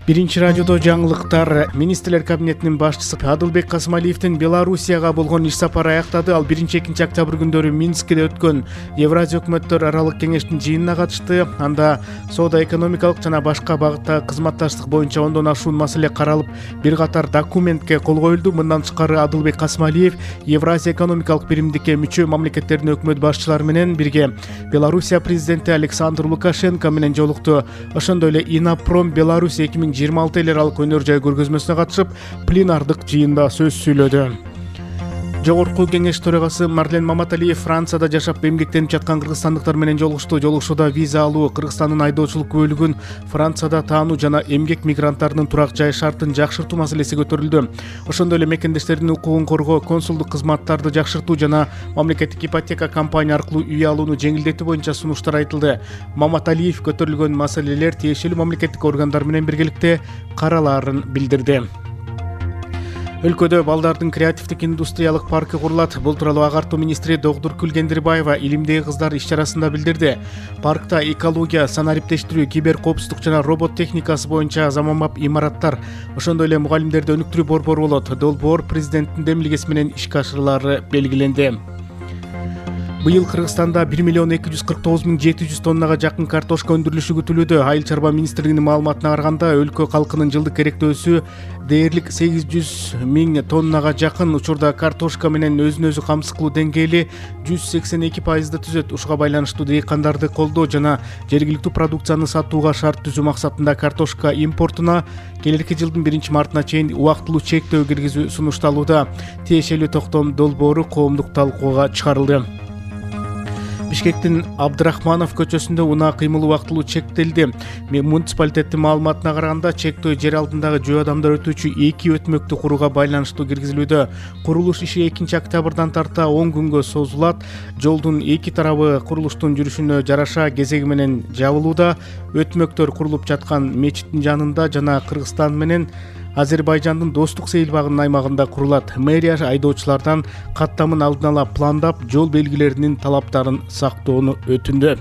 Биринчи радиодо жаңылыктар. Министрлер кабинетинин башчысы Адылбек Касымалиевдин Белоруссияга болгон иш сапары аяктады. Ал 1-2 октябрь күндөрү Минскиде өткөн Евразия өкмөттөр аралык кеңештин жыйынына катышты. Анда соода-экономикалык жана башка багыттагы кызматташтык боюнча 10дон ашуун маселе каралып, бир катар документке кол коюлду. Мындан тышкары Адылбек Касымалиев Евразия экономикалык биримдикке мүчө мамлекеттердин өкмөт башчылары менен бирге Белоруссия президенти Александр Лукашенко менен жолукту. Ошондой эле Инопром Беларусь 2026 эл аралык өнөр жай көргөзмөсүнө катышып, пленардык жыйында сөз сүйлөдү. Жогорку кеңеш төрагасы Марлен Маматалиев Францияда жашап эмгектенип жаткан кыргызстандыктар менен жолугушту. Жолугушууда виза алуу, Кыргызстандын айдоочулук бөлүгүн Францияда таануу жана эмгек мигранттарынын турак жай шартын жакшыртуу маселеси көтөрүлдү. Ошондой эле мекендештердин укугун коргоо, консулдук кызматтарды жакшыртуу жана мамлекеттик ипотека компания аркылуу үй алууну жеңилдетүү боюнча сунуштар айтылды. Маматалиев көтөрүлгөн маселелер тиешелүү мамлекеттик органдар менен биргеликте каралаарын билдирди. Өлкөдө балдардын креативдик индустриялык паркы курулат. Бул тууралуу Агартуу министри Догдур Күлгендирбаева Илимдеги кыздар иш-чарасында билдирди. Паркта экология, санариптештирүү, кибер коопсуздук жана робот техникасы боюнча заманбап имараттар, ошондой эле мугалимдерди өнүктүрүү борбору болот. Долбоор президенттин демилгеси менен ишке ашырылары белгиленди. Быйыл Кыргызстанда 1,249,700 тоннага жакын картошка өндүрүлүшү күтүлүүдө. Айыл чарба министрлигинин маалыматына караганда, өлкө калкынын жылдык керектөөсү дээрлик 800,000 тоннага жакын. Учурда картошка менен өзүн өзү камсыз кылуу деңгээли 182% түзөт. Ушуга байланыштуу дыйкандарды колдоо жана жергиликтүү продукцияны сатууга шарт түзүү максатында картошка импортуна келерки жылдын 1-мартына чейин убактылуу чектөө киргизүү сунушталууда. Тиешелүү токтом долбоору коомдук талкууга чыгарылды. Бишкектин Абдрахманов көчөсүндө унаа кыймыл убактылуу чектелди. Муниципалитеттин маалыматына караганда, чектөө жер алдындагы жөө адамдар өтүүчү 2 өтмөктү курууга байланыштуу киргизилүүдө. Курулуш иши 2 октябрдан тарта 10 күнгө созулат. Жолдун 2 тарабы курулуштун жүрүшүнө жараша кезеги менен жабылууда. Өтмөктөр курулуп жаткан мечиттин жанында жана Кыргызстан менен Азербайжандын достук сейилбагынын аймагында курулат. Мэрия айдоочулардан каттамын алдын ала пландап, жол белгилеринин талаптарын сактоону өтүндү.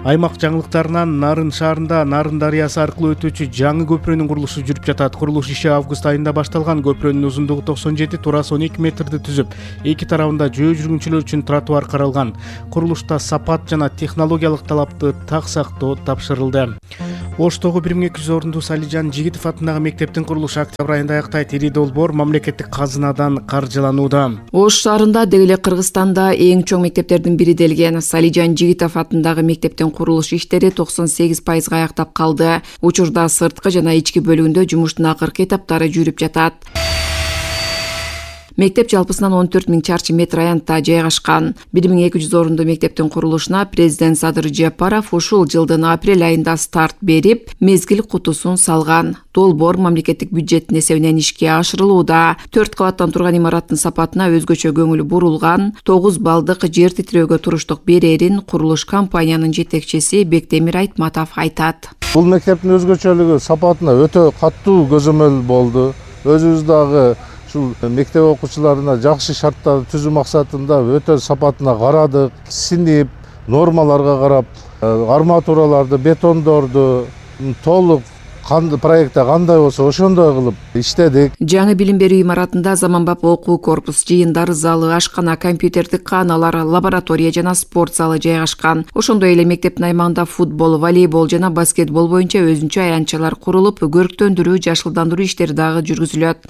Аймак жаңылыктарынан Нарын шаарында Нарын дарыясы аркылуу өтүүчү жаңы көпүрөнүн курулушу жүрүп жатат. Курулуш иши август айында башталган. Көпүрөнүн узундугу 97, турасы 12 метрди түзүп, эки тарабында жөө жүргүнчүлөр үчүн тротуар каралган. Курулушта сапат жана технологиялык талапты так сактоо тапшырылды. Оштогу 1200 орундуу Салижан Жигитов атындагы мектептин курулушу октябрь айында аяктайт. Ири долбоор мамлекеттик казынадан каржыланууда. Ош шаарында деги эле Кыргызстанда эң чоң мектептердин бири делген Салижан Жигитов атындагы мектептин курулуш иштери 98% аяктап калды. Учурда сырткы жана ички бөлүгүндө жумуштун акыркы этаптары жүрүп жатат. Мектеп жалпысынан 14,000 чарчы метр аянтта жайгашкан. 1200 орундуу мектептин курулушуна президент Садыр Жапаров ушул жылдын апрель айында старт берип, мезгил кутусун салган. Долбоор мамлекеттик бюджеттин эсебинен ишке ашырылууда. 4 кабаттан турган имараттын сапатына өзгөчө көңүл бурулган. 9 балдык жер титирөөгө туруштук берерин курулуш компаниянын жетекчиси Бектемир Айтматов айтат. Бул мектептин өзгөчөлүгү сапатына өтө каттуу көзөмөл болду. Өзүбүз дагы ушул мектеп окуучуларына жакшы шарттарды түзүү максатында өтө сапатына карадык. Синип, нормаларга карап, арматураларды, бетондорду толук проектте кандай болсо ошондой кылып иштедик. Жаңы билим берүү имаратында заманбап окуу корпус, жыйындар залы, ашкана, компьютердик кааналар, лаборатория жана спорт залы жайгашкан. Ошондой эле мектептин аймагында футбол, волейбол жана баскетбол боюнча өзүнчө аянтчалар курулуп, көрктөндүрүү, жашылдандыруу иштери дагы жүргүзүлөт.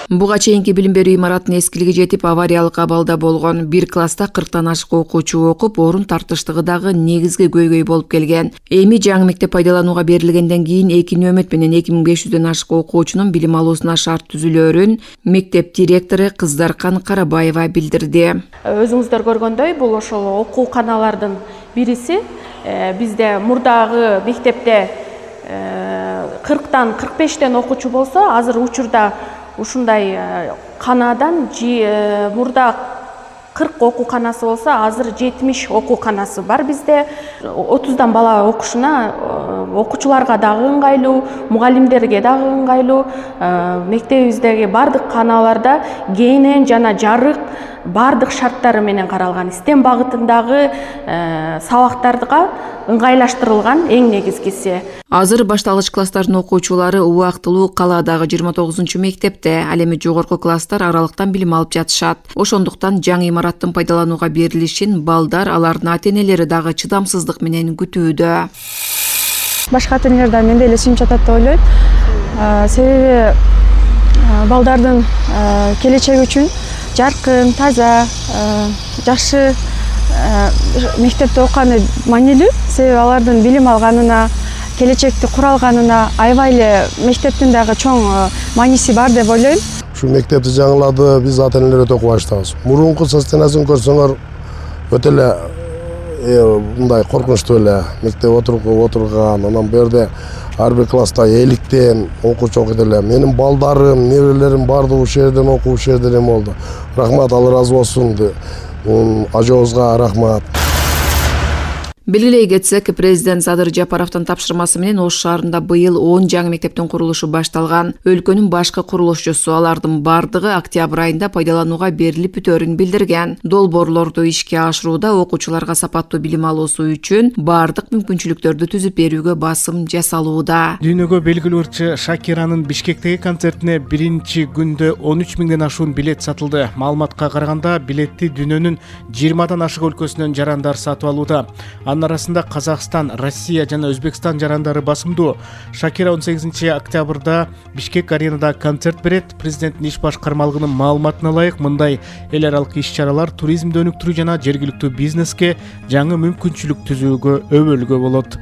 Буга чейинки билим берүү имараттын эскилиги жетип, авариялык абалда болгон. Бир класста 40тан ашык окуучу окуп, орун тартыштыгы дагы негизги көйгөй болуп келген. Эми жаңы мектеп пайдаланууга берилгенден кийин 2 нөмөт менен 2500дөн ашык окуучунун билим алуусуна шарт түзүлөөрүн мектеп директору Кыздаркан Карабаева билдирди. Өзүңүздөр көргөндөй, бул ошол окуу каналардын бириси. Бизде мурдагы мектепте 40тан 45тен окуучу болсо, азыр учурда ушундай канадан мурда 40 окуу канасы болсо, азыр 70 окуу канасы бар бизде. 30дан бала окушуна окуучуларга дагы ыңгайлуу, мугалимдерге дагы ыңгайлуу. Мектебибиздеги бардык каналарда кенен жана жарык баардык шарттары менен каралган, STEM багытындагы сабактарга ыңгайлаштырылган эң негизгиси. Азыр башталгыч класстардын окуучулары убактылуу калаадагы 29-мектепте, ал эми жогорку класстар аралыктан билим алып жатышат. Ошондуктан жаңы имараттын пайдаланууга берилишин балдар, алардын ата-энелери дагы чыдамсыздык менен күтүүдө. Башка ата-энелерден мен деле сүйүнүп жатат деп ойлойм. Себеби балдардын келечеги үчүн жаркын, таза, жакшы мектепте окуганы маанилүү. Себеби алардын билим алганына, келечекти куралганына аябай эле мектептин дагы чоң мааниси бар деп ойлойм. Ушул мектепти жаңылады, биз ата-энелер өтө кубанычтабыз. Мурунку состояниясын көрсөңөр өтө эле мындай коркунучтуу эле мектеп отурган, анан бу жерде ар бир класста 50тен окуучу окуйт эле. Менин балдарым, неберелерим баардыгы ушул жерден окуп, ушул жерден болду. Рахмат, Алла ыраазы болсун. Ажообузга рахмат. Белгилей кетсек, президент Садыр Жапаровдун тапшырмасы менен Ош шаарында быйыл 10 жаңы мектептин курулушу башталган. Өлкөнүн башкы курулушчусу алардын бардыгы октябрь айында пайдаланууга берилип бүтөөрүн билдирген. Долбоорлорду ишке ашырууда окуучуларга сапаттуу билим алуусу үчүн бардык мүмкүнчүлүктөрдү түзүп берүүгө басым жасалууда. Дүйнөгө белгилүү ырчы Шакиранын Бишкектеги концертине биринчи күндө 13 миңден ашуун билет сатылды. Маалыматка караганда, билетти дүйнөнүн 20дан ашык өлкөсүнөн жарандар сатып алууда. Арасында Казакстан, Россия жана Өзбекстан жарандары басымдуу. Шакира 18 октябрда Бишкек аренада концерт берет. Президенттин иш башкармалыгынын маалыматына ылайык, мындай эл аралык иш-чаралар туризмди өнүктүрүү жана жергиликтүү бизнеске жаңы мүмкүнчүлүк түзүүгө өбөлгө болот.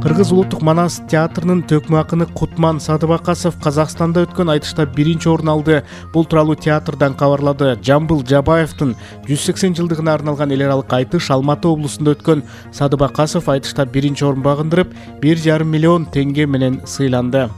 Кыргыз улуттук Манас театрынын төкмө акыны Кутман Садыбакасов Казакстанда өткөн айтышта биринчи орун алды. Бул тууралуу театрдан кабарлады. Жамбыл Жабаевдин 180 жылдыгына арналган эл аралык айтыш Алматы облусунда өткөн. Садыбакасов айтышта биринчи орун багындырып, 1,5 миллион теңге менен сыйланды.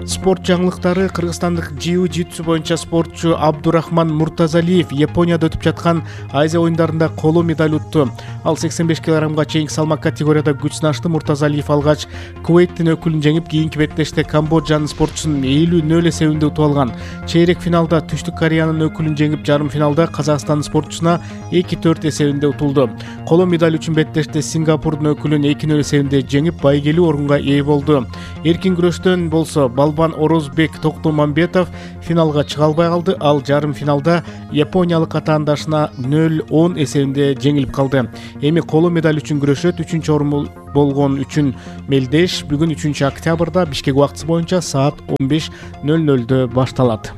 Спорт жаңылыктары. Кыргызстандык jiu-jitsu боюнча спортчу Абдурахман Муртазалиев Японияда өтүп жаткан Азия оюндарында коло медаль утту. Ал 85 кг чейинки салмак категорияда күч сынашты. Муртазалиев алгач Кувейттин өкүлүн жеңип, кийинки беттеште Камбоджанын спортчусун 50-0 эсебинде утуп алган. Чейрек финалда Түштүк Кореянын өкүлүн жеңип, жарым финалда Казакстандын спортчусуна 2-4 эсебинде утулду. Коло медаль үчүн беттеште Сингапурдун өкүлүн 2-0 эсебинде жеңип, байгелүү орунга ээ болду. Эркин күрөштөн болсо Балбан Орозбек Токтомамбетов финалга чыга албай калды. Ал жарым финалда япониялык атаандашына 0-10 эсебинде жеңилип калды. Эми коло медаль үчүн күрөшөт. 3-чү орун болгон үчүн мелдеш бүгүн 3 октябрда Бишкек убактысы боюнча саат 15:00 башталат.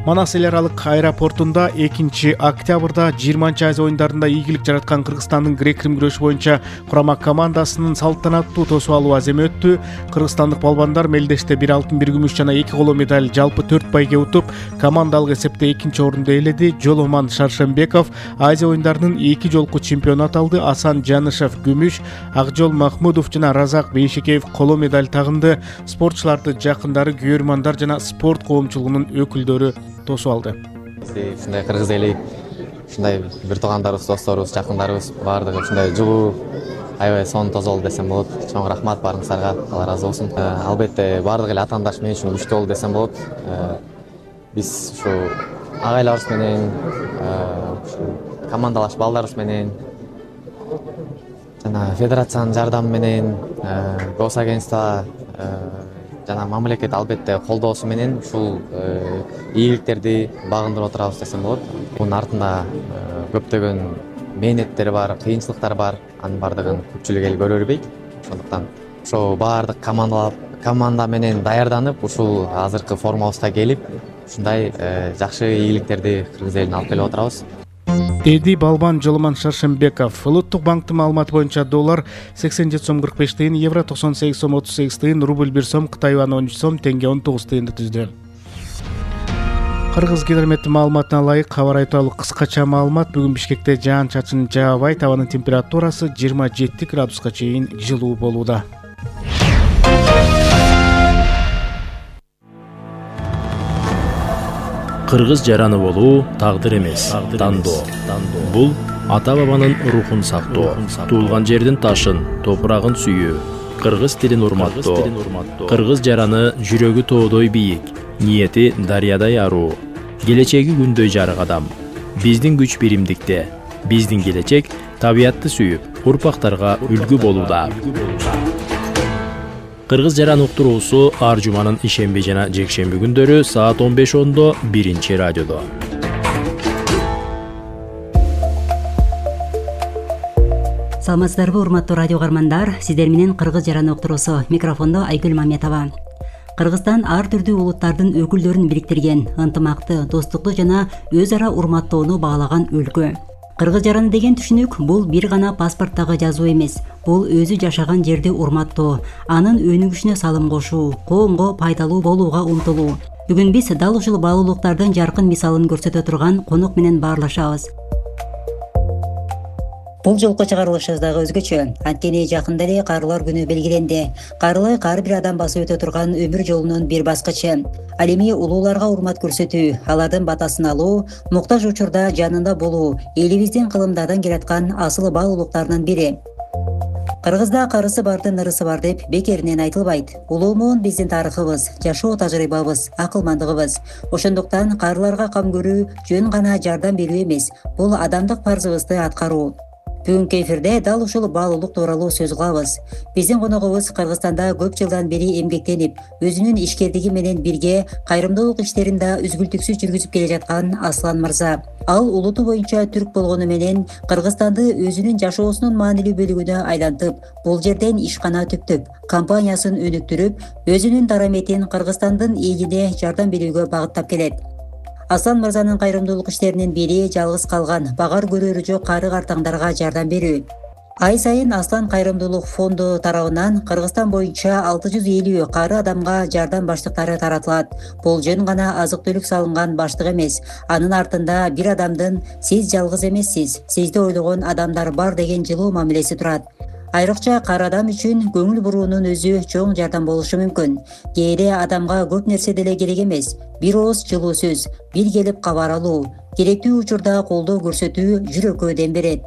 Манас эл аралык аэропортунда 2 октябрда 20 Азия оюндарында ийгилик жараткан Кыргызстандын грек-рим күрөшү боюнча курама командасынын салтанаттуу тосуп алуу аземи өттү. Кыргызстандык балбандар мелдеште 1 алтын, 1 күмүш жана 2 коло медаль, жалпы 4 байге утуп, командалык эсепте 2-чи орунду ээледи. Жоломан Шаршембеков Азия оюндарынын 2 жолку чемпиону аталды. Асан Жанышев күмүш, Акжол Махмудов жана Разак Бейшекеев коло медаль тагынды. Спортчуларды жакындары, күйөрмандар жана спорт коомчулугунун өкүлдөрү тосуп алды. Ушундай кыргыз эли, ушундай бир туугандарыбыз, досторубуз, жакындарыбыз баардыгы ушундай жылуу, аябай сонун тозолду десем болот. Чоң рахмат баарыңыздарга, Алла ыраазы болсун. Албетте баардык эле атаандаш мен үчүн күчтүү болду десем болот. Биз ушу агайларыбыз менен, ушу командалаш балдарыбыз менен жана федерациянын жардамы менен, госагентство жана мамлекет албетте колдоосу менен ушул ийгиликтерди багындырып отурабыз десем болот. Бунун артында көптөгөн мээнеттер бар, кыйынчылыктар бар. Анын баардыгын көпчүлүк эл көрө бербейт. Ошондуктан ошо баардык команда менен даярданып, ушул азыркы формабызга келип, ушундай жакшы ийгиликтерди кыргыз элине алып келип отурабыз. Деди балбан Жоломан Шаршембеков. Улуттук банктын маалыматы боюнча доллар 87 сом 45 тыйын, евро 98 сом 38 тыйын, рубль 1 сом, Кытай юаны 13 сом, теңге 19 тыйынды түздү. Кыргыз гидрометтин маалыматына ылайык кабар тууралуу кыскача маалымат. Бүгүн Бишкекте жаан-чачын жаабайт, абанын температурасы 27 градуска чейин жылуу болууда. Кыргыз жараны болуу тагдыр эмес, тандоо. Бул ата бабанын рухун сактоо, туулган жердин ташын, топурагын сүйүү, кыргыз тилин урматтоо. Кыргыз жараны жүрөгү тоодой бийик, ниети дарыядай аруу. келечеги күндөй жарык адам. Биздин күч биримдикте. Биздин келечек табиятты сүйүп, урпактарга үлгү болууда. Кыргыз жаран уктуруусу ар жуманын ишемби жана жекшемби күндөрү саат 15:10 биринчи радиодо. Саламатсыздарбы, урматтуу радио каармандар? Сиздер менен Кыргыз жаран уктуруусу, микрофондо Айгүл Маметова. Кыргызстан ар түрдүү улуттардын өкүлдөрүн бириктирген, ынтымакты, достукту жана өз ара урматтоону баалаган өлкө. Кыргыз жараны деген түшүнүк бул бир гана паспорттагы жазуу эмес. Бул өзү жашаган жерди урматтоо, анын өнүгүшүнө салым кошуу, коомго пайдалуу болууга умтулуу. Бүгүн биз дал ушул баалуулуктардын жаркын мисалын көрсөтө турган конок менен баарлашабыз. Бул жолку чыгарылышыбыз дагы өзгөчө. Анткени жакында эле Карылар күнү белгиленди. Карылык ар бир адам басып өтө турган өмүр жолунун бир баскычы. Ал эми улууларга урмат көрсөтүү, алардын батасын алуу, муктаж учурда жанында болуу элибиздин кылымдардан келаткан асыл баалуулуктарынын бири. Кыргызда карысы бардын ырысы бар деп бекеринен айтылбайт. Улуумун биздин тарыхыбыз, жашоо тажрыйбабыз, акылмандыгыбыз. Ошондуктан карыларга кам көрүү жөн гана жардам берүү эмес, бул адамдык парзыбызды аткаруу. Бүгүнкү эфирде дал ушул баалуулук тууралуу сөз кылабыз. Биздин коногубуз Кыргызстанда көп жылдан бери эмгектенип, өзүнүн ишкердиги менен бирге кайрымдуулук иштерин да үзгүлтүксүз жүргүзүп келе жаткан Аслан мырза. Ал улуту боюнча түрк болгону менен Кыргызстанды өзүнүн жашоосунун маанилүү бөлүгүнө айлантып, бул жерден ишкана түптөп, компаниясын өнүктүрүп, өзүнүн дараметин Кыргызстандын элине жардам берүүгө багыттап келет. Аслан мырзанын кайрымдуулук иштеринин бири жалгыз калган, багар көрөрү жок кары картаңдарга жардам берүү. Ай сайын Аслан кайрымдуулук фонду тарабынан Кыргызстан боюнча 650 кары адамга жардам баштыктары таратылат. Бул жөн гана азык-түлүк салынган баштык эмес. Анын артында бир адамдын "Сиз жалгыз эмессиз, сизди ойлогон адамдар бар" деген жылуу мамилеси турат. Айрыкча кар адам үчүн көңүл буруунун өзү чоң жардам болушу мүмкүн. Кээде адамга көп нерсе деле керек эмес. Бир ооз жылуу сөз, бир келип кабар алуу, керектүү учурда колдоо көрсөтүү жүрөккө дем берет.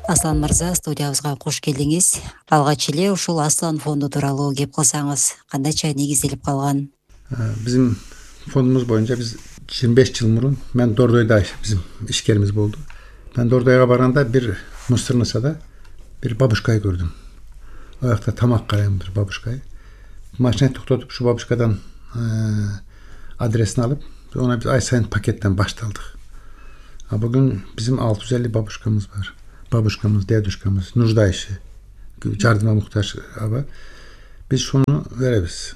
Аслан мырза, студиябызга кош келдиңиз. Алгач эле ушул Аслан фонду тууралуу кеп кылсаңыз, кандайча негизделип калган? Биздин фондубуз боюнча биз 25 жыл мурун мен Дордойдо биздин ишкерimiz болду. Мен Дордойго барганда бир мусорницада бир бабушкай көрдүм. Ал жакта тамак карайм бир бабушкай. Машина токтотуп ушу бабушкадан адресин алып, оны биз ай сайын пакеттен башталдык. А бүгүн биздин 650 бабушкамыз бар. Бабушкамыз, дедушкамыз, нуждающий, жардымга муктаж аба. Биз шуну беребиз.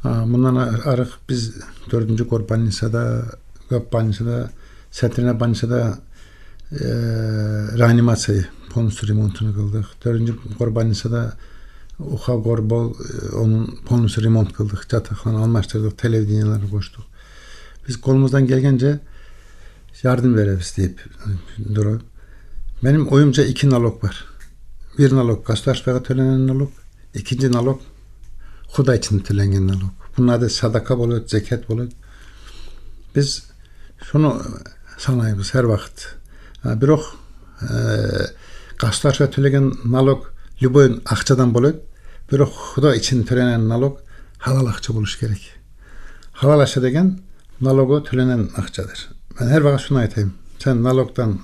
Мындан арык биз 4-көр больницада, көп больницада, Сетрина больницада реанимация полностью ремонтун кылдык. 4-көр больницада уха горбол, онун полностью ремонт кылдык. Жатакхана алмаштырдык, телевиденияларды коштук. Биз колумуздан келгенче жардам беребиз деп durab. Benim oyumca 2 налог бар. Bir налог государствого төлөнген налог, экинчи налог Худай үчүн төлөнгөн налог. Bunun adı sadaka болот, zekat болот. Biz şunu санайбыз her вакыт. Бирок государство төлөгөн налог любой акчадан болот. Бирок Худай үчүн төлөнген налог халал акча болуш керек. Халал акча деген налогу төлөнген акчадыр. Мен her вакыт şunu айтайм. Sen налогдан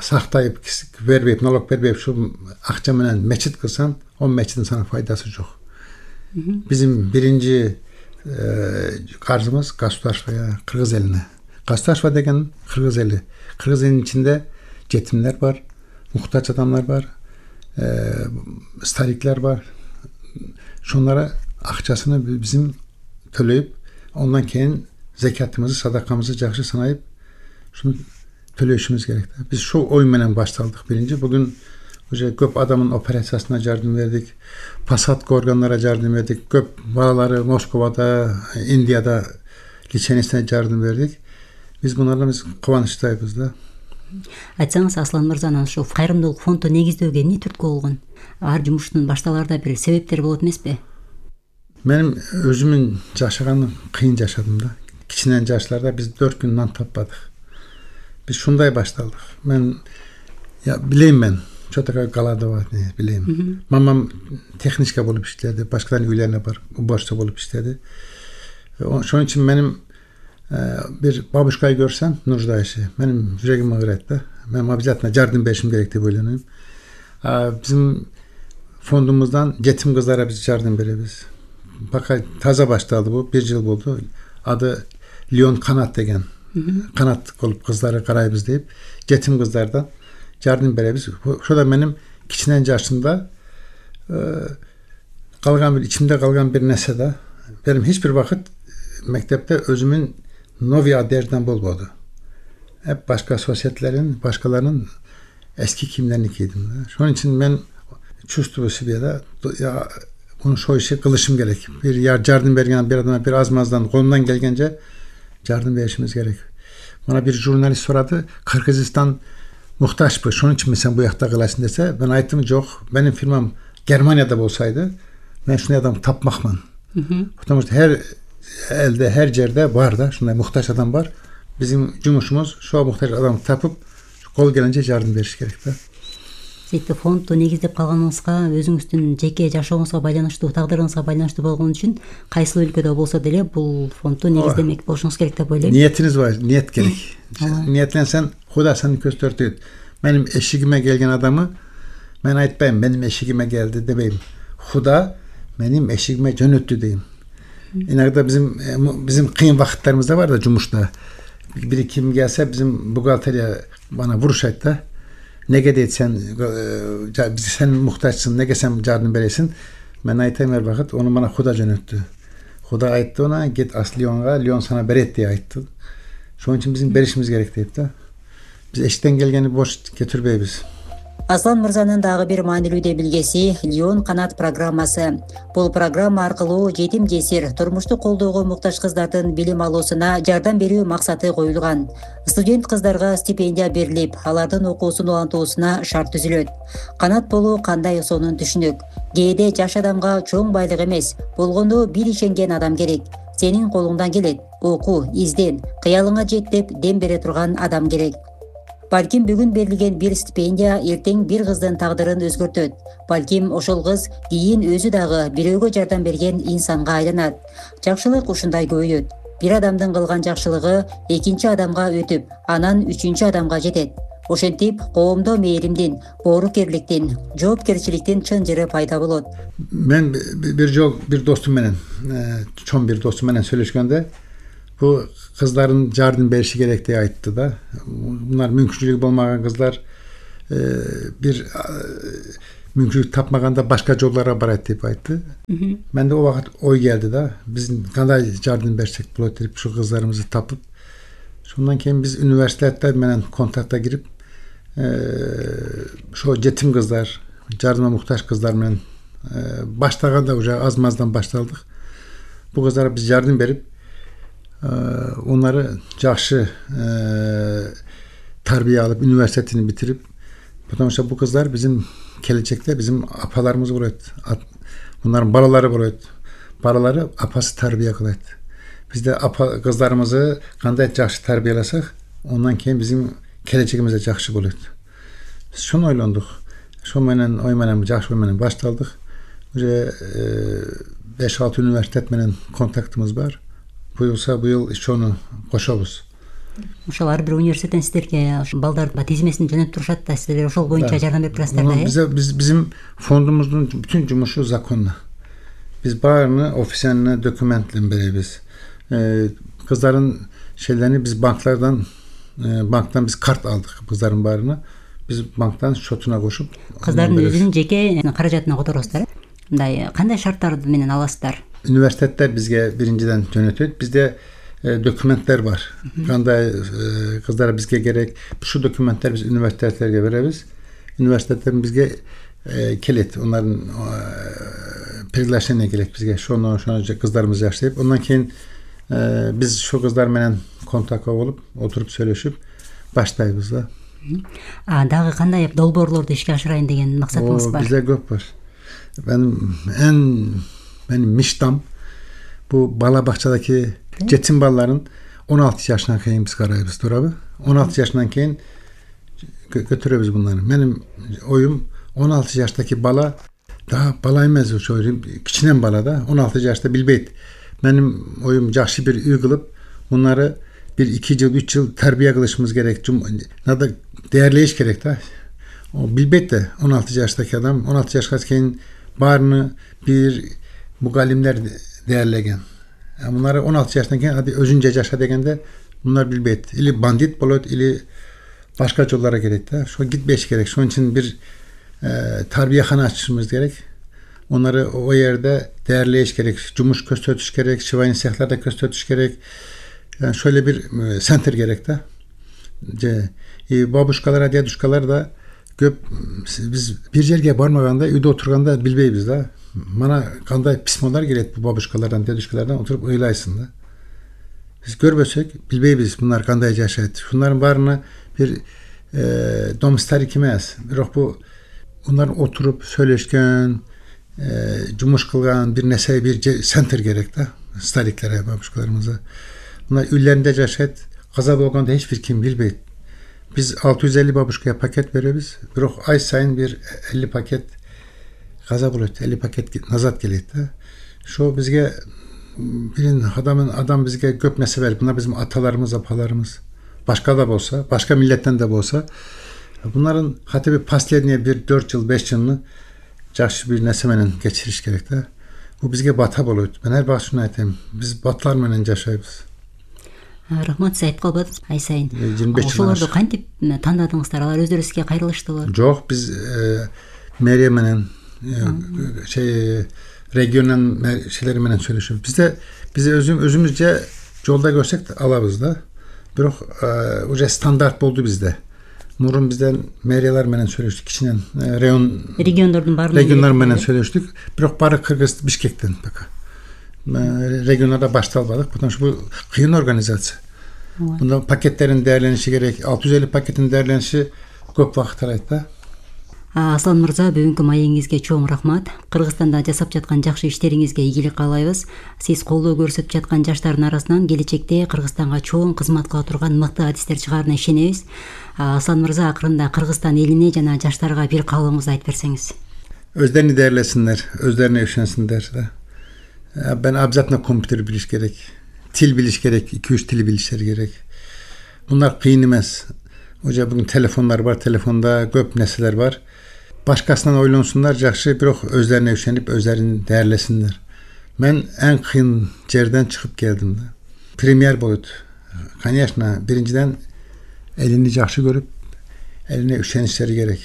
сактайып бербейп, налог бербейп, шу акча менен мечит кылсаң, о мечиттин сана пайдасы жок. Bizim birinci karşımız государствоya, Kırgız eline. Государство деген Kırgız eli. Kırgız elinin içinde yetimler var, muhtaç adamlar var, starikler var. Şunlara akçasını bizim төлөйүp, ondan keyin zekatımızı, sadakamızı жақсы санайып, şunu төлөшүбүз керек. Biz şu oy менен башталдык birinci. Bugün көп адамдын операциясына жардам бердик, посадка органдарына жардам бердик, көп балалары Москвада, Индияда лечениесине жардам бердик. Биз булардан биз кубанычтайбыз да. Айтсаңыз, Аслан мырзанын ушу кайрымдуулук фонду негиздөөгө эмне түрткү болгон? Ар жумуштун башталарда бир себептер болот эмеспи? Менин өзүмүн жашаганым кыйын жашадым да. Кичинен жаштарда биз 4 күн нан таппадык. Biz şunday başladık. Ben bileyim ben. Çok da Galadovat ne bileyim. Mamam tekniska bolup işledi. Başkalarının üyelerine var. Ubaşta bolup işledi. Ошон үчүн менин bir babuşkayı görsem нуждающий, benim yüreğim ağrıydı da. Ben обязательно yardım berişim gerek diye oylanıyorum. Bizim fondumuzdan yetim kızlara biz yardım beremiz. Fakat taze başladı bu, 1 yıl oldu. Adı Lyon Kanat degen. Kanat olup kızları karayız deyip yetim kızlardan yardım beremiz. Şurada benim kiçinen yaşımda kalgan bir içimde kalgan bir nese de benim hiçbir vakit mektepte özümün novi aderden bolmadı. Hep başka sosyetlerin, başkalarının eski kimlerini giydim. Şunun için ben çüstü bu seviyede ya bunu şu işi kılışım gerek. Bir yardım bergen bir adama bir azmazdan kolundan gelgence yardım verişimiz gerek. Bana bir jurnalist soradı. Kırgızistan muhtaç bu. Şunun için mi sen bu yakta kılasın dese ben aytım yok. Benim firmam Germanya'da olsaydı ben şunu adam tapmakman. Her elde her yerde var da şunday muhtaç adam var. Bizim cumhurumuz şu muhtaç adam tapıp kol gelince yardım veriş gerek de. Сөйтіп фондду негиздеп калганыңызга өзүңүздүн жеке жашооңузга байланыштуу, тагдырыңызга байланыштуу болгон үчүн кайсыл өлкөдө болсо деле бул фондду негиздемек болушуңуз керек деп ойлойм. Niyetiniz var, niyet gerek. Niyetlensen Huda seni gösterdi. Benim eşigime gelgen adamı ben aytpayım, benim eşigime geldi demeyim. Huda benim eşigime jönöttü deyim. İnagda bizim kıyın vakitlerimizde var da Cumhurda. Biri kim gelse bizim bugalteriya bana vuruş ayt da. Nege deyit sen muhtaçsın, nege sen yardım beresin. Ben aytayım her vakit, onu bana Huda jönöttü. Huda ayttı ona, git as Lyon'a, Lyon sana beret diye ayttı. Şunun için bizim berişimiz gerek deyip de. Biz eşitten gelgeni boş getirbeyiz. Аслан мырзанын дагы бир маанилүү билгеси Лион канат программасы. Бул программа аркылуу жетим жесир, турмуштук колдоого муктаж кыздардын билим алуусуна жардам берүү максаты коюлган. Студент кыздарга стипендия берилип, алардын окуусун улантуусуна шарт түзүлөт. Канат болуу кандай сонун түшүнүк. Кээде жаш адамга чоң байлык эмес, болгондо бир ишенген адам керек. Сенин колуңдан келет, оку, изден, кыялыңа жет деп дем бере турган адам керек. Балким бүгүн берилген бир стипендия эртең бир кыздын тагдырын өзгөртөт. Балким ошол кыз кийин өзү дагы бирөөгө жардам берген инсанга айланат. Жакшылык ушундай көбөйөт. Бир адамдын кылган жакшылыгы экинчи адамга өтүп, анан үчүнчү адамга жетет. Ошентип коомдо мээримдин, боорукерликтин, жоопкерчиликтин чын жыры пайда болот. Ben bir dostum menen, çoğun bir dostum menen söyleşkende bu kızların yardım berişi gerek diye ayttı da. Bunlar mümkünçülük olmayan kızlar bir mümkünlük tapmaganda başka yollara barat deyip ayttı. Ben de o vakit oy geldi da. Bizim kanday yardım bersek bulat deyip şu kızlarımızı tapıp şundan keyin biz üniversitelerde menen kontakta girip şu yetim kızlar, yardıma muhtaç kızlar menen başlaganda uca azmazdan başladık. Bu kızlara biz yardım berip onları жақсы tarbiye alıp üniversitesini bitirip потому bu kızlar bizim gelecekte bizim apalarımız olacak. Bunların balaları olacak. Balaları apası tarbiye kılaydı. Biz de apa kızlarımızı kanday жақсы tarbiyelasak ondan keyin bizim geleceğimize жақсы olacak. Biz şunu oylandık. Şu menen oymenen жақсы oymenen başladık. 5-6 üniversite menen kontaktımız var. Bu yıl işte onu koşabız. Ошол ар бир университеттен сиздерге балдардын тизмесин жөнөтүп турушат да, сиздер ошол боюнча жардам берип турасыздар да. Bizim fondumuzun bütün cumuşu zakonlu. Biz bağırını, ofiseline dokümentle beremiz. Kızların şeylerini biz banktan biz kart aldık kızların bağırını. Biz banktan şotuna koşup kızların özünün jеке каражатына которосуздар. Мындай кандай шарттар менен аласыздар? Üniversiteler bizge birinciden yönetiyor. Bizde dokümentler var. Kanday kızlara bizge gerek. Şu dokümentler biz üniversitelerge veririz. Üniversitelerin bizge kilit. Onların privileşlerine gerek bizge. Şunu kızlarımız yaşayıp. Ondan keyin biz şu kızlar menen kontak olup oturup söyleşip başlayız da. Dagы кандай долбоорлорду ишке ашырайын деген максатыңыз бар? Bizde көп var. Benim miştam bu bala bahçedeki yetim balaların 16 yaşından keyin biz karayız durabı. 16 yaşından keyin götürüyoruz bunları. Benim oyum 16 yaştaki bala daha bala emez o çocuğum. Kiçinen bala da 16 yaşta bilbeyt. Benim oyum жакшы bir үй kılıp bunları bir 2 yıl 3 yıl terbiye kılışımız gerek. Nada değerleyiş gerek da. O bilbet de 16 yaştaki adam 16 yaşka keyin barını bir mugallimler değerlegen. Yani bunları 16 yaştan keyin hadi özünce yaşa degende bunlar bilbet. İli bandit bolot ili başka yollara gerek de. Şu gitmeyiş gerek. Şunun için bir terbiyehane açmamız gerek. Onları o yerde değerleyiş gerek. Cumuş köstötüş gerek. Şivayın sehlarda köstötüş gerek. Yani şöyle bir center gerek de. Babuşkalar, diyaduşkalar da köp biz bir yerge barmaganda uyda oturganda bilbeybiz da. Mana kanday pismolar gelet bu babuşkalardan, diyaduşkalardan oturup oylaysın da. Biz görbösek bilbeybiz bunlar kanday yaşaydı. Şunların barına bir domstarik emez. Biroq bu bunlar oturup söyleşken cumuş kılgan bir nesey bir center gerek de. Stariklere, babuşkalarımıza. Bunlar üllerinde yaşaydı. Kaza bolganda hiçbir kim bilbeydi. Biz 650 babuşkaya paket veriyoruz. Biroq ay sayın bir 50 paket kaza buluyor. 50 paket nazat geliyor. Şu bizge birin adam bizge köp nesi verir. Bunlar bizim atalarımız, apalarımız. Başka da olsa, başka milletten de olsa. Bunların hatta bir paslerine bir 4 yıl, 5 yılını жақсы bir nesemenin geçiriş gerek de. Bu bizge bata buluyor. Ben her başına aytayım. Biz batlar menen yaşayız. Рахмат, сиз айтып калбадыңыз ай сайын. 25 Ошолорду кантип тандадыңыздар? Алар өздөрү сизге кайрылыштыбы? Жоқ, biz meriye menen regionun şeyleri menen söyleşiyoruz. Biz özümüzce yolda görsek alabız da. Biroq уже standart boldu bizde. Nurun bizden meriyeler menen söyleştik. Kişinen regionlar menen söyleştik. Biroq bari Kırgız Bişkek'ten baka. Regionlarda başta almadık. Bu kıyın organizasyon. Bunda paketlerin değerlenişi gerek. 650 paketin değerlenişi көп vakit aldı. Аслан мырза, бүгүнкү маегиңизге чоң рахмат. Кыргызстанда жасап жаткан жакшы иштериңизге ийгилик каалайбыз. Сиз колдоо көрсөтүп жаткан жаштардын арасынан келечекте Кыргызстанга чоң кызмат кыла турган мыкты адистер чыгаарына ишенебиз. Аслан мырза, акырында Кыргызстан элине жана жаштарга бир каалооңузду айтып берсеңиз. Özlerini değerlesinler, özlerine üşensinler de. Ben abzatına kompüter biliş gerek, til biliş gerek, 2-3 tili bilişleri gerek. Bunlar kıyın emez. Hoca bugün telefonlar var, telefonda köp neseler var. Başkasından oylonsunlar, жақсы, biroq özlerine üşenip özlerini değerlesinler. Ben en kıyın yerden çıkıp geldim de. Premier boyut. Конечно, birinciden elini жақсы görüp eline üşenişleri gerek.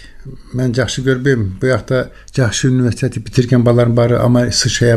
Ben жақсы görбейм. Bu yakta жақсы üniversiteti bitirgen balarım bari ama sıçraya